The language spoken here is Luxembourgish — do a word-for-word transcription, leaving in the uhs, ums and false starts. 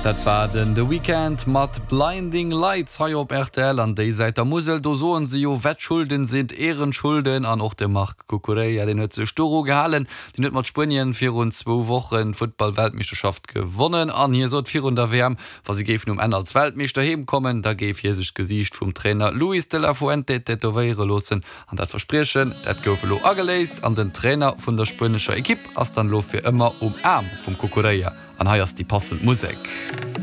Dat war den The Weeknd mat Blinding Lights hei op R T L. An déi Säit der Musel, do soen se jo: "Wettschulden sind Ehrenschulden." An och de Marc Cucurella, den huet sech doru gehalen. Den huet mat Spuenien virun zwou Wochen Futtball-Weltmeeschterschaft gewonnen an hie sot virun der W M, wa si géifen um Enn als Weltmeeschter heem kommen, da géif hie sech d'Gesiicht vum Trainer Luis de la Fuente tätowéiere loossen. An dat Verspriechen, dat gouf elo ageléist an den Trainer vun der spuenescher Ekipp ass dann elo fir ëmmer um Aarm vum Cucurella. An hei ass déi passend Musek.